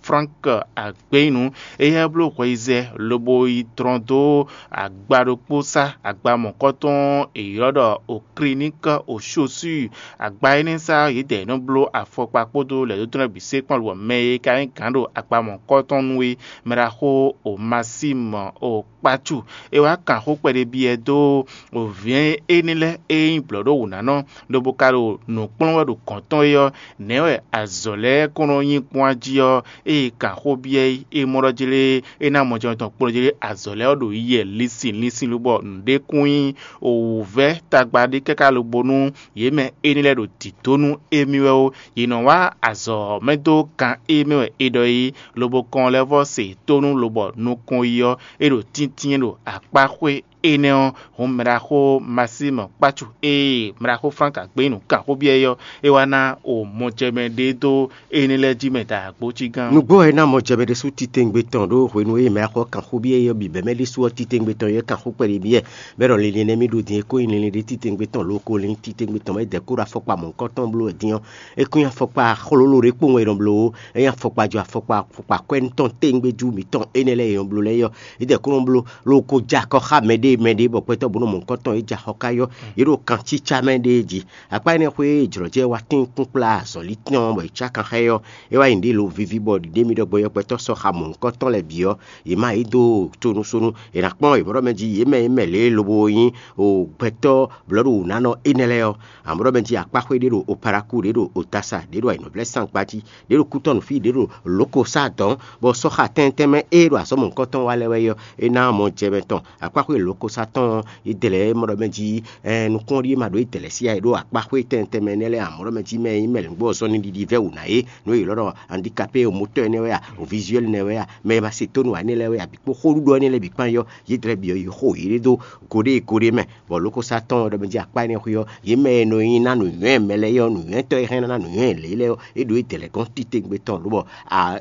Frank Agbeyinu, éyɛ́ bló hweyizɛ lobo yi dlɔn dó agba ɖokpó sá, agba mɔ̌kɔtɔn e ylɔ́ ɖɔ Okliník Oshosúi. Agba énɛ́ sá yědɛɛ nɔ bló afɔkpa kpódó lɛ̌dó tɔn lɛ́ɛ bǐ sé kpɔ́n lobɔ mɛ e ka nyí gǎn ɖo agba mɔ̌kɔtɔn nu é, mɛ ɖaxó Omasímu Okpácu. É wá kan xó kpɛɖé byɔ́ dó vǐ énɛ́ lɛ́ɛ e nyí blɔ̌ɖówǔnánɔ, lobo ka ɖo nǔ kplɔ́n wɛ ɖo gɔ̌n tɔn é ɔ́, nɛ̌ wɛ azɔ̌ lɛ́ɛ kɔn nɔ nyí gbɔn jí ɔ́, ée kan xó byɔ́ é, é mɔ ɖɔ jlé é ná mɔ jɛmɛ tɔn kplɔ́n jlé azɔ̌ lɛ́ɛ ɔ́ ɖo yiyɛ linsin linsin lobɔ nǔɖé kún nyí wǔvɛ́ tagba ɖé káká lobo nú yě mɛ énɛ́ lɛ́ɛ ɖo dǐdó nú émí wɛ ó. Yě nɔ wá azɔ̌ mɛ dó kan e mɛ wɛ è ɖɔ é, lobo kɔn lɛ́ vɔ́ se tónú lobɔ nukɔn yi ɔ́, é ɖo tíntín ɖo akpáxwé énɛ́ ɔ́, hǔn mɛɖaxó Masímu Kpácu e mɛɖaxó Flánk Agbeyínu kan xó byɔ́ é ɔ́, é wá ná o mɔjɛmɛ ɖé dó énɛ́ lɛ́ɛ jí mɛ da agbo cí gán. Nǔgbó ɔ́, é ná mɔjɛmɛ ɖésú titewungbe tɔn ɖó hwenu e mɛɖaxó kan xó byɔ́ é ɔ́ bǐ bɛ́ mɛ ɖésú ɔ́ titewungbe tɔn é kan xó kpɛɖé byɔ́ ɛ, bɔ é ɖɔ linlin nɛ́ mì ɖo din é kó nyí linlin ɖé titewungbe tɔn lóko lín titewungbe tɔn mɛ é dɛ̌ kó ɖo afɔkpa mɔ̌hunkɔtɔn bló wɛ din ɔ́, é kún nyí afɔkpa xlóló ɖé kpowun e è nɔ bló ó. É nyí afɔkpa jɔ afɔkpa afɔkpa akwɛ́nútɔn téwúngbéjú mǐtɔn énɛ́ lɛ́ɛ e è nɔ bló lɛ́ɛ é ɔ́, yě dɛ̌ kó nɔ bló lóko jɛ akɔ xá mɛɖée mɛɖée bɔ gbɛtɔ́ bó nɔ mɔ̌hunkɔtɔn e jɛ axɔ ká é ɔ́, yě ɖo kan cícá mɛ ɖée jí. Akpá énɛ́ xwé e jlɔ̌ jɛ wá tín kpúkplá azɔ̌lítɔ́n bɔ è cá kan xá ɛ ɔ́, é wá nyi nǔɖé lo víví bɔ ɖiɖe mì ɖɔ gbɔn yɔkpɛtɔ́ sɔ́ xa mɔ̌hunkɔtɔn lɛ́ɛ bǐ ɔ́, yě má yí dó tonusonu. È nǎ kpɔ́n yě mɔ ɖɔ mɛ jí yě mɛ e mɛ lě e lobo nyí o gbɛtɔ́ blɔ̌ɖowǔnánɔ énɛ́ lɛ́ɛ ɔ́, amɔ̌ ɖɔ mɛ jí akpáxwé ɖé ɖo Oparaku, ɖé ɖo Otasa, ɖé ɖo ayǐnɔvlɛ́ Sankpati, ɖě ɖo kútɔ́ nǔfí, ɖě ɖo lǒko sá dɔ̌n, bɔ sɔ́ xa tɛ́ntɛ́n mɛ e ɖo azɔ̌ mɔ̌hunkɔtɔn wa lɛ́ɛ wɛ é ɔ́, é ná mɔ jɛ mɛ tɔn. Akpáxwé lǒko sá tɔn ɔ́, é dlɛ̌ mɔ ɖɔ mɛ jí, ɛɛ, nukúnɖíe ma ɖo é dlɛ̌ sí ǎ, é ɖo akpáxwé tɛ́ntɛ́n mɛ énɛ́ lɛ́ɛ amɔ̌ ɖɔ mɛ jí mɛ e nyí mɛ lěngbó ɔ́ zɔ́n ní ɖiɖi vɛ́ wǔ ná é, nǔ e yě lɔ́ ɖɔ andikapé motɔ́ énɛ́ wɛ a, o vizuɛ́li nɛ́ wɛ a, mɛ e ma se tónú ǎ énɛ́ lɛ́ɛ wɛ a, bǐ kpó xóɖuɖɔ énɛ́ lɛ́ɛ bǐ kpán é ɔ́, yě dlɛ̌ bǐ ɔ́, yě xo yě ɖé dó go ɖé e go ɖé mɛ, bɔ lǒko sá tɔn ɔ́ ɖɔ mɛ jí akpá énɛ́ xwé ɔ́, yě mɛ e nɔ nyi ná nǔnywɛ́ mɛ lɛ́ɛ é ɔ́, nǔnywɛ́tɔ́ e hɛn ná ná nǔnywɛ́ lě lɛ́ɛ ɔ́, é ɖo é dɛ̌ lɛ́ gɔ́n titewungbe tɔn lobɔ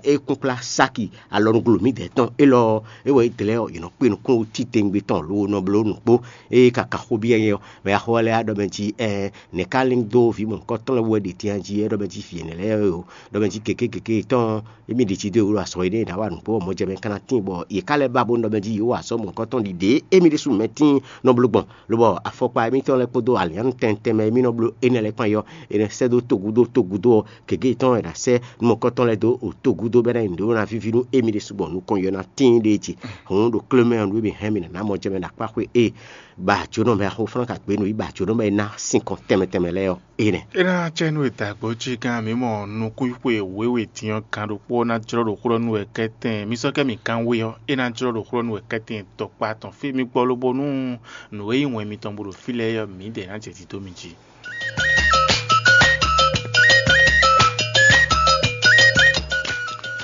é kún kplá sáki alɔnuglo mǐdɛɛ tɔn élɔ́ ɔ́, é wɛ é dlɛ́ ɔ́, yě nɔ kpé nukún titewungbe tɔn lo nɔ bló nǔkpó. Ée ka kan xó byɔ́ nyɛ ɔ́, mɛ axɔ́ lɛ́ɛ á ɖɔ mɛ jí ɛɛ nɛ̌ ka lín dó vǐ mɔ̌hunkɔtɔn lɛ́ɛ wú wɛ ɖe din jí é ɖɔ mɛ jí vǐ ɛnɛ lɛ́ɛ wɛ o, ɖɔ mɛ jí gěgé gěgé tɔn émí ɖi jí dó e wú ɖo azɔ̌ énɛ́ e nǎ wa nǔgbó ɔ́ mɔjɛmɛ ka ná tíin bɔ yě ká lɛ́ ba bó nɔ mɛ jí yě wa azɔ̌ mɔ̌hunkɔtɔn ɖiɖe émí ɖésú mɛ tíin nɔ bló gbɔn, lobɔ afɔkpa émítɔn lɛ́ɛ kpódó alǐannu tɛntɛn mɛ émí nɔ bló énɛ́ lɛ́ɛ kpán é ɔ́, é nɔ sɛ́ dó togúdo togúdo ɔ́, gěgé tɔn e è nǎ sɛ́ nú mɔ̌hunkɔtɔn lɛ́ɛ dó o togúdo bɔ é ná nyi nǔɖé ná víví nú émí ɖésú gbɔn nukɔn yɔ ná tíin ɖéé jí. Hǔn ɖo klé mɛ ɔ́, nǔ e mǐ hɛn mǐ ná ná mɔjɛmɛ ɖo akpáxwé e ba jǒnɔ mɛ axo flán ka gbě nǔ yi ba jǒnɔ mɛ e ná sinkɔn tɛnmɛ tɛnmɛ lɛ́ɛ ɔ́. Énɛ́. É ná cɛ nú e dǎgbó jí gán mǐ mɔ nukúnxwe wěwe din ɔ́ gan ɖokpó ɔ́ ná jlɔ́ ɖo xó ɖɔ nú wɛ kɛ́tɛn. Mi sɔ́ kɛ́ mǐ gán we ɔ́, é ná jlɔ́ ɖo xó ɖɔ nú wɛ kɛ́tɛn tɔkpá tɔn fí mi gbɔ lobo nú nǔ e nyí wɛn mitɔn bó ɖo fí lɛ́ɛ ɔ́, mǐdɛɛ ná jɛ dǐdó mi jí.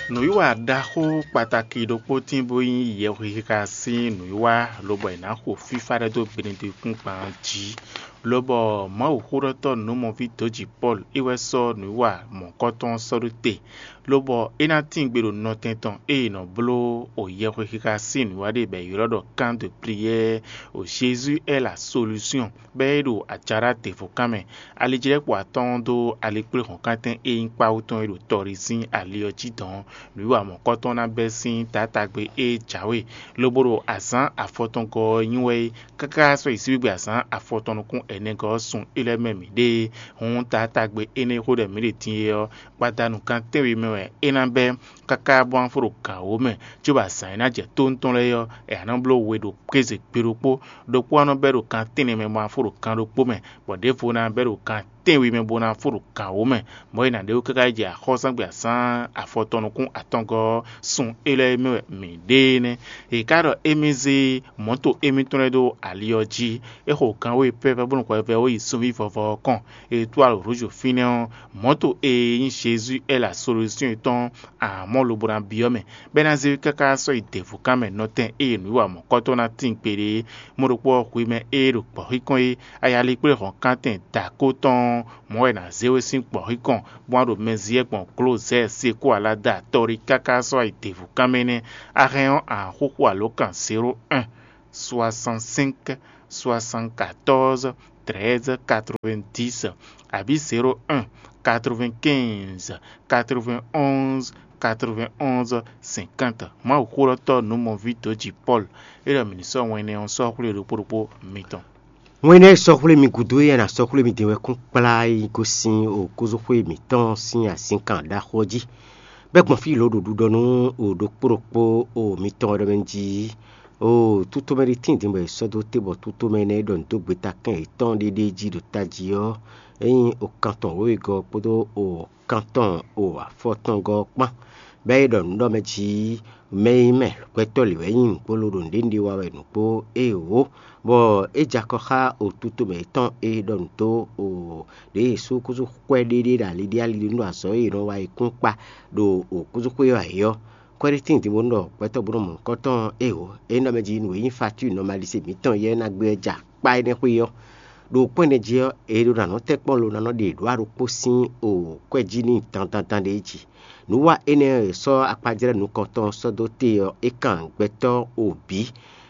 Nǔwiwa ɖaxó kpatakí ɖokpó tín bó nyí yɛhwexixa sín nǔwiwa, lobɔ è nǎ xo fífá ɖɛ́ dó gbenedekúngban jí. Lobɔ Mawuxóɖɔtɔ́ nǔmɔví dǒjǐ Pɔ́lu é wɛ sɔ́ nǔwiwa mɔ̌kɔtɔn ɔ́ sɔ́ ɖó te, lobɔ é ná tín gbe ɖo nɔtɛn tɔn e è nɔ bló o yɛhwexixa sín nǔwiwa ɖé bɔ è ylɔ́ ɖɔ kan de priyɛ́ɛ o Jésus est la solution, bɔ é ɖo ajaɖá devo kan mɛ. Alijlɛ́kpo atɔ́ɔ́n dó alikpléhɔ̌nkántɛn e nyí kpáwú tɔn e ɖo tɔɖi sín ali ɔ́ jí dɔ̌n, nǔwiwa mɔ̌kɔtɔn ná bɛ́ sín taatagbe e jǎwe, lobo ɖo azǎn afɔtɔngɔ́ ɔ́ nyi wɛ é, káká sɔ́ yi síbígbe azǎn afɔtɔn nukún ɛnɛgɔ́ ɔ́ sun é lɛ́ɛ mɛ mǐ ɖe é. Hǔn taatagbe énɛ́ e xó ɖɔ mǐ ɖe din é ɔ́, gbadanu gan tɛ́nwe mɛ wɛ é ná bɛ́, káká bó ná fó ɖo gǎn wǒ mɛ, cóbɔ azǎn e ná jɛ tóntɔn lɛ́ɛ ɔ́, è nǎ nɔ bló we ɖo kéze gbe ɖokpó, ɖokpó ɔ́ nɔ bɛ́ ɖo gan tɛ́nnɛ mɛ bó ná fó ɖo gan ɖokpó mɛ, bɔ ɖěvo ná bɛ́ ɖo gan tɛ́nwe mɛ bó ná fó ɖo gan wǒ mɛ, bɔ é ná ɖe wú káká yi jɛ axɔ́súzángbe azǎn afɔtɔn nukún atɔngɔ́ ɔ́, sun élɔ́ e mɛ wɛ mǐ ɖe é nɛ́. È ká ɖɔ émí zé mɔ̌to émítɔn lɛ́ɛ dó ali ɔ́ jí, é xo gan wé pɛ́pɛ́ bónú hwɛvɛ́ ó yi sunví vɔvɔ ɔ́ kɔn. È tó alǒ rúzu fínɛ́ ɔ́, mɔ̌to e nyí Jezu é la solúsyɔn yětɔn amɔ̌ lobo ná byɔ́ mɛ, bɔ é ná zé káká sɔ́ yi dɛ̌vukan mɛ nɔtɛn e nǔwiwa mɔ̌kɔtɔn ná tíin kpeɖé é. Mɔ ɖokpó ɔ́, hwi mɛ e ɖo gbɔ̌xíkɔn é, ayali kplé hɔ̌nkántɛn dǎkó tɔn ɔ́, mɔ̌ wɛ è nǎ zé we sín gbɔ̌xíkɔn, bó wá ɖo mɛ zi wɛ gbɔn glozɛ́ɛ sekú alada tɔɖi káká sɔ́ yi dɛ̌vukan mɛ nɛ́. A hɛn ɔ́, a nǎ xúxú alǒkan zéro un. soixante-cinq, soixante-quatorze, treize, quatre-vingt-dix, abǐ zéro un, quatre-vingt-quinze, quatre-vingt-onze, quatre-vingt-onze, cinquante. Mawuxólɔ́tɔ́ nǔmɔví dǒjǐ Pɔ́lu, é ɖɔ mǐ ní sɔ́ wɛn énɛ́ ɔ́ sɔ́ xwlé ɖokpó ɖokpó mitɔn. Wɛn énɛ́ e sɔ́ xwlé mi gúdo é, a nǎ sɔ́ xwlé mi din wɛ kún kplá yi gosín okúzúxwé mǐtɔn sín azǐnkan ɖaxó ɔ́ jí. Bɛ́ gbɔn fí lǒ ɖo ɖiɖɔ nú o ɖokpó ɖokpó o mitɔn wɛ ɖɔ mɛ jí. O tútomɛ ɖé tíin din bɔ è sɔ́ dó te bɔ tútomɛ énɛ́ e ɖɔ nǔ dó gbeta kɛn yětɔn ɖéɖé jí ɖo tají ɔ́, é nyí o kantɔn wěwegɔ́ kpódó o kantɔn o afɔtɔngɔ́ kpán. Bɛ́ é ɖɔ nǔ ɖɔ mɛ jí mɛ e nyí mɛ gbɛtɔ́ lě wɛ nyí nǔgbó ló ɖo nǔɖé nǔɖé wa wɛ nǔgbó éeǒ, bɔ é jɛ akɔ xá o tútomɛ yětɔn e ɖɔ nǔ dó o ɖě e súkúzú xwɛ ɖéɖé ɖo ali ɖé ali ɖé nú azɔ̌ e è nɔ wa é kún kpa ɖo okúzúxwé ɔ́ ayǐ ɔ́. Kwɛ́ɖétín din bó nú ɖɔ gbɛtɔ́ bó nɔ mɔ nukɔn tɔn ɔ́ éeǒ. É nɔ mɛ jí nǔ e nyí fatúi nɔmalize mǐtɔn yɛ́ ná gbé ɔ́ jɛ akpá énɛ́ xwé ɔ́. Ɖo kpɔ́n énɛ́ jí ɔ́, è ɖo ná nɔ tɛ́ kpɔ́n lo ná nɔ ɖe ɖǒ aɖókpó sín o kwɛ́ jí n'i dandan ɖé jí. Nǔ wa énɛ́ e è sɔ́ akpajlɛ́ nukɔntɔn ɔ́ sɔ́ dó te ɔ́, é kan gbɛtɔ́ o bǐ,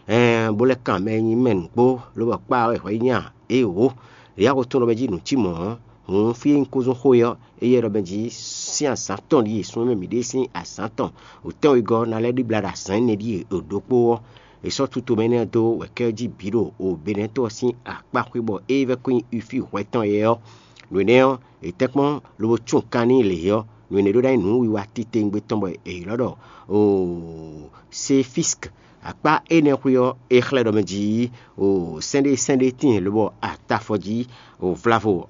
ɛɛn bó lɛ́ kan mɛ e nyí mɛ nǔgbó, lobɔ kpá wɛ hwɛ nyí a? Éeǒ, yǎ ko tún ɖɔ mɛ jí nǔ cí mɔ̌ ɔ́, hǔn fí e nyí kúzún xó é ɔ́, éyɛ́ ɖɔ mɛ jí sín azǎn tɔn ɖíe sun e mɛ mǐ ɖe sín azǎn tɔn wětɛn wegɔ́ ɔ́ ná lɛ́ ɖibla ɖo azǎn énɛ́ ɖíe ɖo ɖokpó ɔ́. È sɔ́ tutomɛ énɛ́ ɔ́ dó wɛ̌kɛ́ ɔ́ jí bǐ ɖo Benɛ́to ɔ́ sín akpá xwé bɔ é vɛ́ kɔn nyi Ifíi hwɛ tɔn yɛ ɔ́. Nǔ énɛ́ ɔ́, è tɛ́ kpɔ́n lobo cún kan n'i lě ɔ́, nǔ énɛ́ ɖó ná nyí nǔwiwa titewungbe tɔn bɔ è ylɔ́ ɖɔ Sefísk. Akpá énɛ́ xwé ɔ́, é xlɛ́ ɖɔ mɛ jí sɛ́n ɖé sɛ́n ɖé tíin lobɔ atafɔ jí vlavo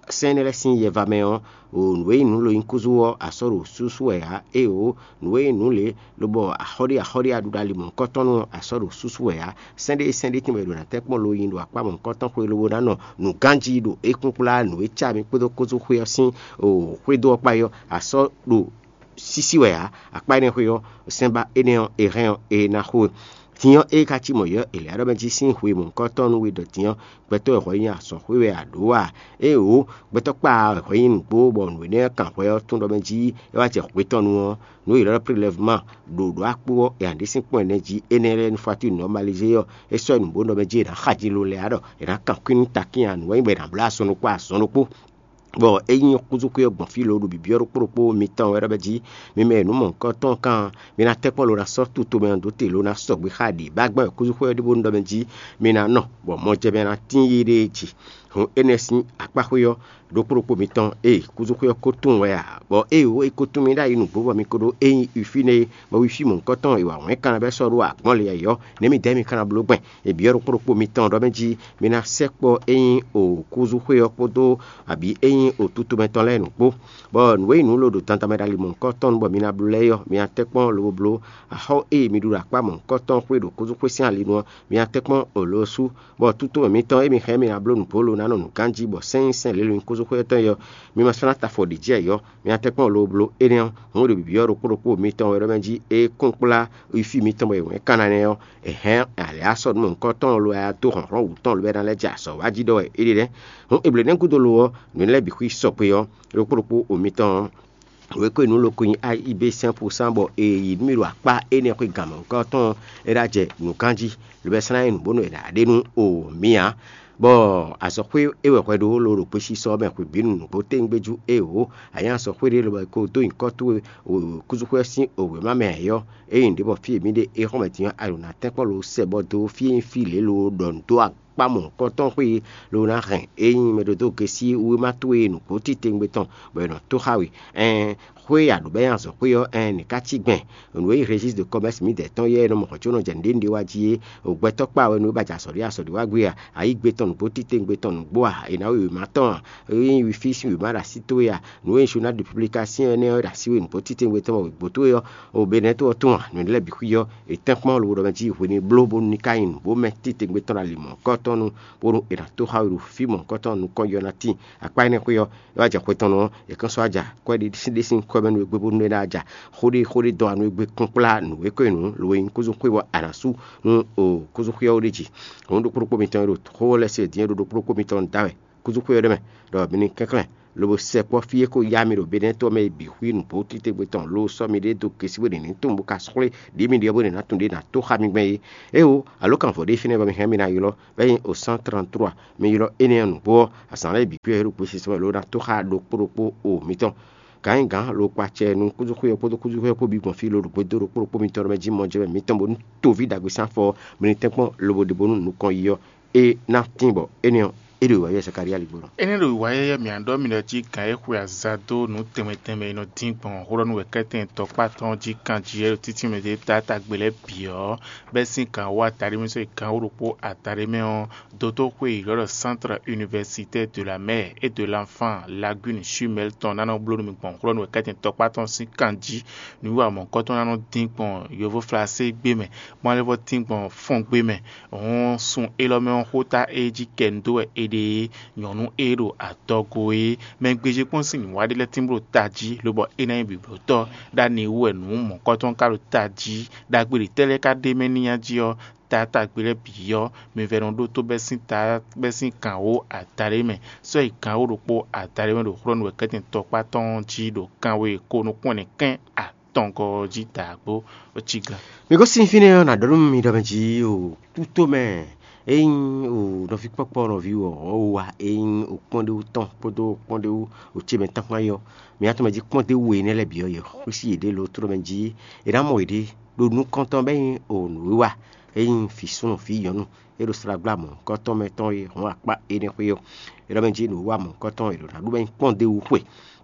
sɛ́n énɛ́ lɛ́ɛ sín yɛva mɛ ɔ́, nǔ e nyí nǔ lo nyí kúzú ɔ́, a sɔ́ ɖo súsú wɛ ǎ. Éeǒ, nǔ e nyí nǔ lě lobɔ axɔ́ɖí axɔ́ɖí aɖuɖalimɔ̌kɔtɔn nú a sɔ́ ɖo súsú wɛ ǎ. Sɛ́n ɖé sɛ́n ɖé tíin wɛ è ɖo ná tɛ́ kpɔ́n lo nyi ɖo akpá mɔ̌hunkɔtɔn xwé lobo ná nɔ nǔganjí ɖo é kún kplá nǔ e cá mì kpódó kúzú xwé ɔ́ sín xwédo ɔ́ kpá é ɔ́, a sɔ́ ɖo sísí wɛ ǎ. Akpá énɛ́ xwé ɔ́, sɛ́nba énɛ́ ɔ́, è hɛn ɔ́, è nǎ xo. Din ɔ́, ée ka cí mɔ̌ yɔ́ Eleyáɖɔ mɛ jí sín hwe mɔ̌hunkɔtɔn nú we ɖɔ din ɔ́, gbɛtɔ́ e hwɛ nyi azɔ̌ xwé wɛ a ɖǒ a? Éeǒ, gbɛtɔ́ kpa hwɛ nyi nǔgbó bɔ nǔ énɛ́ kan hwɛ ɔ́ tún ɖɔ mɛ jí é wá jɛ hwe tɔn nu ɔ́, nǔ e è ylɔ́ ɖɔ Prélɛvuma ɖo ɖǒ akpó ɔ́, è nǎ ɖe sín kpɔ́n ɛnɛ jí énɛ́ lɛ́ɛ nú Fatín nɔmalize ɔ́, é sɔ́ nǔ bó nɔ mɛ jí è nǎ xaji lo lɛ́ɛ ɖɔ è nǎ kan kwín nú takín a nǔ wɛ nyí bɔ è nǎ bló azɔn ɖokpó azɔn ɖokpó. Bɔ é nyí xúzú xwé ɔ́ gbɔn fí lo ɖo bǐbyɔ́ ɖokpó ɖokpó mitɔn wɛ ɖɔ mɛ jí mi mɛ e nǔ mɔ̌hunkɔtɔn kan mi ná tɛ́ kpɔ́n lo ná sɔ́ tutomɛ ɔ́ dó te lo ná sɔgbe xá ɖě bá gbɛ́ wɛ xúzú xwé ɔ́ ɖíbónú ɖɔ mɛ jí mi ná nɔ, bɔ mɔjɛmɛ ná tín yi ɖée jí. Hǔn énɛ́ sín akpá xwé ɔ́ ɖokpó ɖokpó mitɔn ée xúzú xwé ɔ́ ko tunwun wɛ ǎ, bɔ ée wǒ é ko tunwun mì ɖ'ayǐ nǔgbó bɔ mi ko ɖó é nyí Ufíne é, bɔ Ufí mɔ̌hunkɔtɔn e wa wɛ̌n kanna bɛ́ sɔ́ ɖó agbɔ̌n lě ɔ́, nɛ̌ mi dɛ̌ mi ka ná bló gbɛn? È byɔ́ ɖokpó ɖokpó mitɔn ɖɔ mɛ jí mi ná sɛkpɔ́ é nyí o kúzú xwé ɔ́ kpódó abǐ é nyí o tutomɛ tɔn lɛ́ɛ nǔgbó, bɔ nǔ e nyí nǔ lo ɖo dandan mɛ ɖo ali mɔ̌hunkɔtɔn nu bɔ mi ná bló lɛ́ɛ é ɔ́, mi ná tɛ́ kpɔ́n lobo bló. Axɔ́ e mi ɖu ɖo akpá mɔ̌hunkɔtɔn xwé ɖo kúzú xwé sín ali nu ɔ́, mi ná tɛ́ kpɔ́n o lo sú, bɔ tutomɛ mitɔn e mi hɛn mi ná bló nǔgbó lo ná nɔ nǔganjí, bɔ sɛ́n nyí sɛ́n lě lo nyí kúzú xwé tɔn é ɔ́, mi ma sɔ́ ná ta afɔ ɖě jí ayǐ ɔ́, mi ná tɛ́ kpɔ́n lobo bló énɛ́ ɔ́. Hǔn ɖo bǐbyɔ́ ɖokpó ɖokpó mitɔn wɛ ɖɔ mɛ jí é kún kplá Ifí mitɔn bɔ è wɛ̌n kanna nɛ́ ɔ́, è hɛn alě asɔ́ nú mɔ̌hunkɔtɔn lo wɛ a dó hlɔ̌nhlɔ́n wǔ tɔn lo wɛ ná lɛ́ jɛ azɔ̌ wá jí ɖɔ wɛ é ɖe nɛ́. Hǔn è blǒ nɛ́ gúdo lo ɔ́, nǔ lɛ́ɛ bǐ xwí sɔgbe ɔ́, ɖokpó ɖokpó o mitɔn ɔ́, wěkwín nǔ lo ko nyí A I B cinq pour cent bɔ è yi nú mì ɖo akpá énɛ́ xwé gǎn mɔ̌hunkɔtɔn ɔ́, é ná jɛ nǔ ganjí, lo bɛ slán nyí nǔ bónú è nǎ ɖe nú o mì ǎ. Bɔ azɔ̌xwé é wɛ hwɛ ɖó lo ɖo gbesisɔ ɔ́ mɛ hwebǐnu nǔgbó téwúngbéjú éeǒ, a nyǐ azɔ̌xwé ɖé lobɔ è ko dó nyǐkɔ towe kúzúxwé ɔ́ sín wěma mɛ ǎ é ɔ́, ényí nǔɖé bɔ fí e mǐ ɖe é xɔ́mɛ din ɔ́, a ɖo nǎ tɛ́nkpɔ́n lo sɛ bɔ dó fí e nyí fí lě lo ɖɔ nǔ dó akpá mɔ̌hunkɔtɔn xwé e lo ná hɛn é nyí mɛɖódógesí wěma towe e nǔgbó titewungbe tɔn bɔ è nɔ tó xá we. Ɛɛn, xwé e a ɖǒ bɔ é nyí azɔ̌xwé ɔ́, ɛɛn, nǐ ká cí gbɛn? Nǔ e nyí registre de commerce mǐdɛɛ tɔn yɛ e nɔ mɔ hɔn có nɔ jɛ nǔɖé nǔɖé wá jí é, o gbɛtɔ́ kpa wɛ nú é ba jɛ azɔ̌ ɖé azɔ̌ ɖé wá gbé a? Ayǐ gbe tɔn nǔgbó titewungbe tɔn nǔgbó a? È nǎ wí wěma tɔn a? É nyí fí sín wěma ɖo así towe a? Nǔ e nyí journal de publication énɛ́ ɔ́ ɖo así we nǔgbó titewungbe tɔn bɔ wěgbó towe ɔ́, o Benɛ́to ɔ́ tɔn a? Nǔ énɛ́ lɛ́ɛ bǐ xwí ɔ́, è tɛ́nkpɔ́n lobo ɖɔ mɛ jí hwenu e bló bónú ní ka nyí nǔgbó mɛ titewungbe tɔn ɖo ali mɔ̌hunkɔtɔn nu, bónú è nǎ tó xá we ɖo fí mɔ̌hunkɔtɔn nukɔn yɔ ná tíin. Akpá énɛ́ xwé ɔ́, é wá jɛ xwe tɔn nú ɔ́, è kán sɔ́ wá ja kwɛ́ ɖé sín ɖé sín kwɛ́ mɛ nú we gbé bónú é ná ja xó ɖé xó ɖé dɔn wá nú we gbé kúnkplá nǔ e ko nyí nǔ lo e nyí kúzú xwé bɔ a nǎ sú nú o kúzú xwé ɔ́ ɖ'é jí. Hǔn ɖokpó ɖokpó mitɔn e ɖo xó ɔ́ lɛ́ɛ se din é ɖo ɖokpó ɖokpó mitɔn da wɛ. Kúzúxwé ɔ́ ɖé mɛ, ɖɔ mi ní kɛnklɛ́n lobo sɛ kpɔ́ fí e ko yá mi ɖo Benɛ́ɛ to ɔ́ mɛ e bǐ xwí nǔgbó titewungbe tɔn lo sɔ́ mi ɖe dó gěsí bó ɖe nǐ tunwun bó ka xwlé ɖě mi ɖyɔ́ bó ɖe ná tunwun ɖě ná tó xá mi gbɛn é. Éwo, alǒkanvɔ ɖé fínɛ́ bɔ mi hɛn mi ná ylɔ́, bɔ é nyí o cent trente-trois, mi ylɔ́ énɛ́ ɔ́ nǔgbó ɔ́, azǎn lɛ́ɛ bǐ kpé wɛ é ɖo gbesisɔ mɛ lǒ ná tó xá ɖokpó ɖokpó o mitɔn. Gǎn nyí gǎn lo kpa acɛ nú kúzúxwé ɔ́ kpódó kúzúxwé ɔ́ kpó bǐ gbɔn fí lo ɖo gbedó ɖokpó ɖokpó mitɔn mɛ jí mɔ jɛ mɛ mitɔn bónú toví ɖagbe sín afɔ ɔ́, mi ní tɛ́nkpɔ́n lobo ɖe bónú nukɔn yi ɔ́, é ná tín bɔ énɛ́ ɔ́, é ɖo wǎ yɛ Zakalía ligbɔnɔ. Énɛ́ ɖo wǎ yɛ́yɛ́ mǐ ná ɖɔ mì ɖɔ jí gǎn e xwe aza dó nǔ tɛnmɛ tɛnmɛ e nɔ dín gbɔn xó ɖɔ nú wɛ̌kɛ́tɛn tɔkpá tɔn jí kan jí é ɖo títí mɛ ɖě táta gbe lɛ́ɛ bǐ ɔ́, bɛ́ sín gǎn wú ataɖé mɛ sɔ́ yi gǎn wú ɖokpó ataɖé mɛ ɔ́, dotóxwé e ylɔ́ ɖɔ Centre Universitaire de la Mère et de l'Enfant Lagune Chumel tɔn ná nɔ bló nú mi gbɔn xó ɖɔ nú wɛ̌kɛ́tɛn tɔkpá tɔn sín kan jí. Nǔwiwa mɔ̌hunkɔtɔn ná nɔ dín gbɔn yovóflasé gbé mɛ, bó ná lɛ́ vɔ́ dín gbɔn fɔ́n gbé mɛ. Hɔn sun élɔ́ mɛ ɔ́, xóta e jí kɛ un dó wɛ è ɖe é, nyɔ̌nu e ɖo adɔgo é. Mɛ gbéjé kpɔ́n sín nǔwa ɖé lɛ́ɛ tínblo tají, lobɔ é ná nyí bǐblótɔ́. Ɖó ani wú wɛ nǔ mɔ̌kɔ́tɔn ka ɖo tají. Ɖagbe ɖě tɛ́ lɛ́ɛ ka ɖ'é mɛ n'i jí ɔ́, taatagbe lɛ́ɛ bǐ ɔ́, mi vɛ́ nɔ ɖótó bɛ́ sín ta bɛ́ sín gǎnwó adaɖé mɛ, sɔ́ yi gǎnwó ɖokpó adaɖé mɛ ɖo xlɔ́ nú wɛ̌kɛ́tɛn tɔkpá tɔn ɔ́ jí ɖo kanwe e ko nukún ɛnɛ kɛ́n atɔngɔ́ ɔ́ jí dǎgbó. Cí gán. Mi gosín fínɛ́ ɔ́, nǎ ɖɔ nú mi ɖɔ mɛ jí o tútó mɛ, ényí o nɔví kpɔ́kpɔ́ nɔví wɔ ɔ́ wa, ényí o kpɔ́n ɖé wú tɔn kpódó kpɔ́n ɖé wú o ce mɛ tán kpán yɔ, mi atɔn mɛ jí kpɔ́n ɖé wú énɛ́ lɛ́ɛ bǐ ɔ́, yě xwísí yěɖée lo tló mɛ jí è nǎ mɔ yěɖée ɖo nukɔn tɔn bɛ́ nyí o nǔwiwa, ényí vǐ súnnu vǐ nyɔ̌nu e ɖo slagbla mɔ̌hunkɔtɔn mɛ tɔn e hɔn akpá énɛ́ xwé ɔ́, é ɖɔ mɛ jí nǔwiwa mɔ̌hunkɔtɔn e ɖo nǎ ɖu bɛ́ nyí kpɔ́n ɖé wú xwe.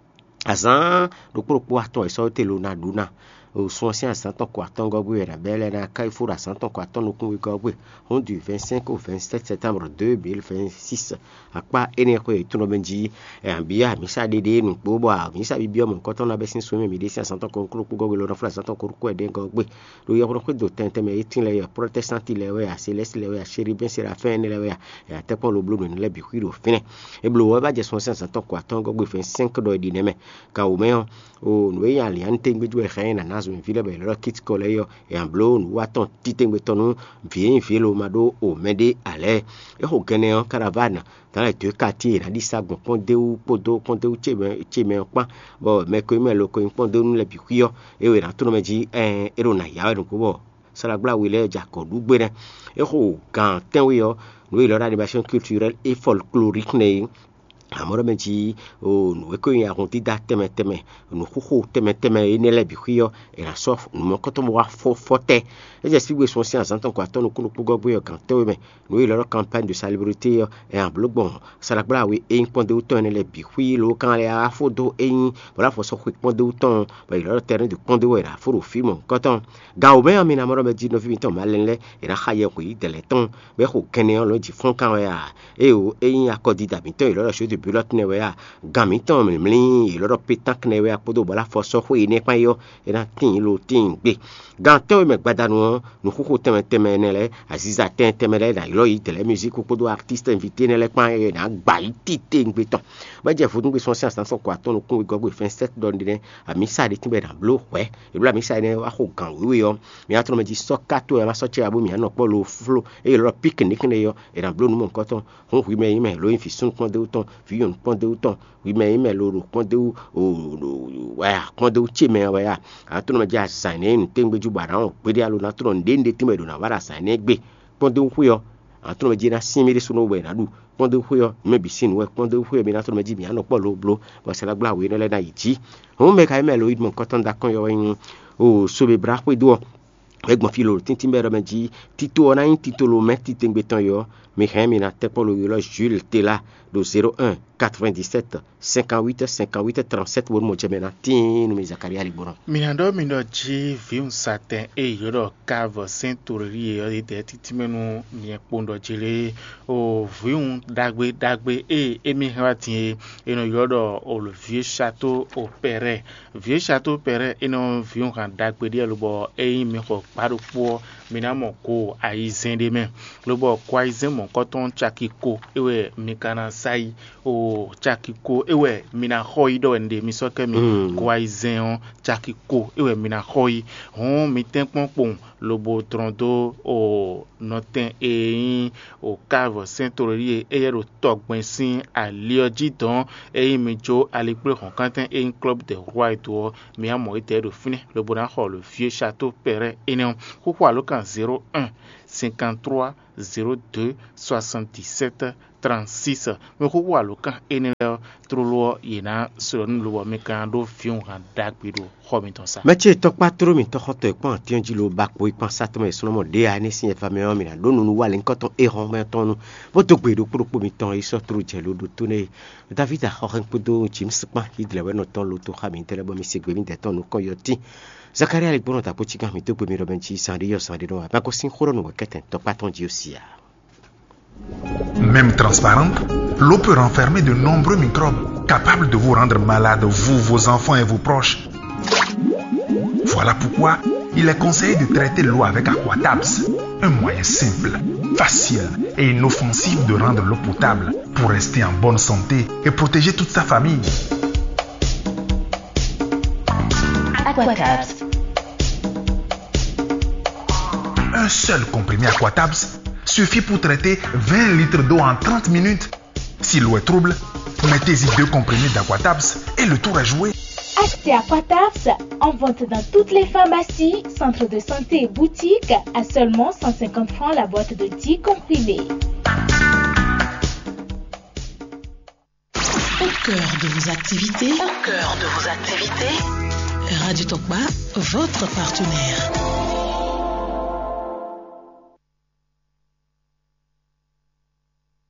Azǎn ɖokpó ɖokpó atɔn è sɔ́ te lo ná ɖu ná. Sun ɔ́ sín azǎn tɔn ko atɔ́ngɔ́ gbé wɛ è nǎ bɛ́ lɛ́ɛ ná ká yi fó ɖo azǎn tɔn ko atɔ́ nukúnwegɔ́ gbé. Hɔn du vingt-cinq au vingt-sept septembre deux mille vingt-six. Akpá énɛ́ xwe yětɔn mɛ jí, ɛ, abǐ amǐsa ɖéɖé nǔgbó bɔ amǐsa bíbí ɔ́ mɔ̌hunkɔtɔn ná bɛ́ sín súnmí mǐɖée sín azǎn tɔn ko ɖokpó gɔ́ gbé lo ná fó ɖo azǎn tɔn ko ɖokpó ɛnɛ gɔ́ gbé. Ɖo yɔkpɔ́ xwé do tɛn tɛnmɛ e tín lɛ́ɛ ɔ́, protɛstanti lɛ́ɛ wɛ a, selɛ́si lɛ́ɛ wɛ a, seribɛ́n serafɛ́n énɛ́ lɛ́ɛ wɛ a, è nǎ tɛ́ kpɔ́n lo bló nǔ énɛ́ lɛ́ɛ bǐ xwí ɖo fínɛ́. É bló ɔ́, é wá jɛ sun ɔ́ sín azǎn tɔn ko atɔ́ɔ́ngɔ́ gbe vɛ̌ɛn sɛ́nk ɖɔ è ɖi nɛ́ mɛ. Kan wǒ mɛ ɔ́, nǔ e nyí alǐantégbéjú wɛ xá nyí nǎ ná zɔnlin ví lɛ́ɛ bɔ è lɛ́ ɖɔ kítikɔ lɛ́ɛ é ɔ́, è nǎ bló nǔwiwa tɔn títɛ́ngbé tɔn nú vǐ e nyí vǐ e lo ma ɖó o mɛ ɖé ǎ lɛ́ɛ. É xo gɛnɛ ɔ́, Karaván, dans les deux quartiers, è nǎ ɖi sa gbɔn kpɔ́ndéwú kpódó kpɔ́ndéwú ce mɛ ce mɛ ɔ́ kpán, bɔ mɛ ko nyí mɛ lo ko nyí kpɔ́ndéwú lɛ́ɛ bǐ xwí ɔ́, é wɛ è nǎ tlɔ́n mɛ jí, ɛɛn, é ɖo nǎ ya wɛ nǔgbó bɔ Salagbláwe lɛ́ɛ jɛ akɔ̌ɖugbénɛ́. É xo gǎn tɛ́nwe ɔ́, nǔ e è ylɔ́ ɖɔ animation culturelle et folklorique nɛ́ é. Amɔ̌ ɖɔ mɛ jí o nǔ e ko nyi ahɔndídá tɛnmɛ tɛnmɛ, nǔxoxo tɛnmɛ tɛnmɛ énɛ́ lɛ́ɛ bǐ xwí ɔ́, è nǎ sɔ́ nǔmɔkɔ́tɔn bó wá fɔ fɔ tɛ́. É jɛ sígbé sun ɔ́ sín azǎn tɔn ko atɔ́ nukún ɖokpó gɔ́ gbé ɔ́, gǎn tɛ́nwe mɛ, nǔ e è ylɔ́ ɖɔ kanpány de salibrité ɔ́, è nǎ bló gbɔn Salagbláwe e nyí kpɔ́ndéwú tɔn énɛ́ lɛ́ɛ bǐ xwí lǒ kan lɛ́ɛ wá fó dó é nyí bɔ ɖó afɔ sɔ́ xwe kpɔ́ndéwú tɔn, bɔ è ylɔ́ ɖɔ tɛ́nɛ́ de kpɔ́ndéwú wɛ è nǎ fó ɖo fí mɔ̌hunkɔtɔn. Gan wǒ mɛ ɔ́, mi ná mɔ ɖɔ mɛ jí nɔví mitɔn malɛnu lɛ́ɛ, è nǎ xa yɛhweɖídɛ̌ lɛ́ɛ tɔn, bɔ é xo gɛnɛ ɔ́ lɔ̌ jí fɔ́n kan wɛ a? Éeǒ, é nyí akɔdida mǐtɔn e è ylɔ́ ɖɔ jeu de bulotte nɛ́ wɛ a? Gan mǐtɔn mǐmlí e è ylɔ́ ɖɔ pétánk nɛ́ wɛ a kpódó bɔ ɖó afɔ sɔ́ xwé énɛ́ kpán é ɔ́, é ná tíin lo tíin gbe. Gan tɛ́nwe mɛ gbadanu ɔ́, nǔxoxo tɛnmɛ tɛnmɛ ɛnɛ lɛ́ɛ, aziza tɛnmɛ tɛnmɛ lɛ́ɛ, è nǎ ylɔ́ yi dɛ̌lɛ́ muzík kpódó artíst invité énɛ́ lɛ́ɛ kpán, é ná gba yi titewungbe tɔn. Bɔ é jɛ vodúngbe sɔ́ sín azǎn sɔ́ ko atɔ́ nukún wegɔ́ gbe fɛ́n sɛ́t ɖɔ ɖé nɛ́, amǐsa ɖé tínbɔ è nǎ bló hwɛ̌. È bló amǐsa énɛ́ wá xo gǎn wěwe ɔ́, mi ná tlɔ́n mɛ jí sɔ́ ká towe wɛ má sɔ́ cɛ wá bó mǐ ná nɔ kpɔ́ lo fló, eye è ylɔ́ ɖɔ piknik nɛ́ é ɔ́, è nǎ bló nǔ mɔ̌hunkɔtɔn. Hǔn hwi mɛ e nyí mɛ lo nyí vǐ súnnu kpɔ́ndéwú tɔn, vǐ nyɔ̌nu kpɔ́ndéwú tɔn, hwi mɛ e nyí mɛ lo ɖo kpɔ́ndéwú, o, o, wɛ a, kpɔ́ndéwú ce mɛ wɛ a, a nǎ tlɔ́n mɛ jí azǎn énɛ́ nyi nǔtɛ́ngbéjú bɔ a nǎ wɔn gbeɖé alo ná tlɔ́n nǔɖé nǔɖé tínbɔ è ɖo nǎ wa ɖo azǎn énɛ́ gbe. Kpɔ́ndéwú xwé ɔ́, a nǎ tlɔ́n mɛ jí é ná sín mì ɖésú nú we ná ɖu. Kpɔ́ndéwú xwé ɔ́, mɛ bǐ sín nǔ wɛ kpɔ́ndéwú xwé ɔ́, mi ná tlɔ́n mɛ jí mǐ ná nɔ kpɔ́ lo bló, bɔ sɛ́ ná gbla we énɛ́ lɛ́ɛ ná yi jǐ. Hǔn mɛ ka nyí mɛ lo nyí mɔ̌hunkɔtɔn ɖo akɔ́n yɔ̌wɛ nyí o Sobeblá xwédo ɔ́, é gbɔn fí lǒ tíntín bɔ é ɖɔ mɛ jí, tito ɔ́ ná nyí tito lo mɛ titewungbe tɔn é ɔ́, mi hɛn mi ná tɛ́ kpɔ́ lo ylɔ́ Jules Tela ɖo zéro un quatre-vingt-dix-sept cinquante-huit cinquante-huit trente-sept bónú mɔ jɛ mɛ ná tíin nú mi Zakaria ligbɔnɔ. Mi ná ɖɔ mi ɖɔ jí vǐwun satɛn e ylɔ́ ɖɔ Kavɔ sɛ́n Torelíe ɔ́, é dɛ̌ títí mɛ nú nyɛ kpowun ɖɔ jí lé. O vǐwun ɖagbe ɖagbe e émí hɛn wá din e è nɔ ylɔ́ ɖɔ o le vieux château au Perret. Vieux château Perret é nɔ vǐwun han ɖagbe ɖíe lobɔ é nyí mi xɔ gbá ɖokpó ɔ́, Mi ná mɔ go ayizɛ́n ɖé mɛ, lobɔ go ayizɛ́n mɔ̌kɔtɔn caki ko é wɛ mi ka ná sa yi. O caki ko é wɛ mi ná xɔ yi ɖɔ wɛ un ɖe mi sɔ́ kɛ mi. Go ayizɛ́n ɔ́, caki ko é wɛ mi ná xɔ yi. Hɔn mi tɛ́nkpɔ́n kpowun lobo dlɔ́n dó o nɔtɛn e nyí o kávɔ sɛ́n tlólí e éyɛ́ ɖo tɔgbɛn sín ali ɔ́ jí dɔn. Ényí mi jó alikpléhɔ̌nkántɛn e nyí Club des Rois do ɔ́, mi wá mɔ étɛ́ ɖo fínɛ́ lobo ná xɔ le vieux château Perret énɛ́ ɔ́. Xóxó alǒkan zéro un cinquante trois zéro deux soixante dix sept trente six. Mi xóxó alǒkan énɛ́ lɛ́ɛ ɔ́, tlóló ɔ́, yě ná slɔ́ nú lobɔ mi ka ná ɖó vǐwunhan ɖagbe ɖo xɔ mitɔn sá. Mɛ ce tɔkpá tló mǐtɔn xɔ́ntɔn e kpɔ́n atín jí lo ba kpo yi kpán sátɔ́ mɛ e súnɔmɔ ɖě ǎ é nɛ́ sín ɛvamɛ ɔ́, mǐ ná ɖó nunu wá lěhunkɔtɔn nu, bó dó gbe ɖokpó ɖokpó mitɔn yi sɔ́ tló jɛ lo ɖo tó nɛ́ e. David axɔxɛn kpódó James kpán yi dlɛ̌ wɛ nɔ tɔn lo tó xá mǐtɛn lɛ́ɛ bɔ mi se gbe mǐdɛɛ tɔn nukɔn yɔtín. Zakaria lɛ́ gbɔn nɔ ta kpó cíkan mǐ dó gbe mi ɖɔ mɛ jí zan ɖé yɔ zan ɖé nɔ wá ma gosín xó ɖɔ nǔ wɛ kɛtɛn tɔkpá tɔn jí ó sia. Même transparente, l'eau peut renfermer de nombreux microbes capables de vous rendre malade, vous, vos enfants et vos proches. Voilà pourquoi il est conseillé de traiter l'eau avec Aquatabs, un moyen simple, facile et inoffensif de rendre l'eau potable pour rester en bonne santé et protéger toute sa famille. Aquatabs. Un seul comprimé Aquatabs suffit pour traiter vingt litres d'eau en trente minutes. Si l'eau est trouble, mettez-y deux comprimés d'Aquatabs et le tour est joué. Achetez Aquatabs en vente dans toutes les pharmacies, centres de santé et boutiques à seulement cent cinquante francs la boîte de dix comprimés. Au cœur de vos activités, au cœur de vos activités, Radio Tokba, votre partenaire.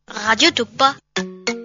Radio Tokba.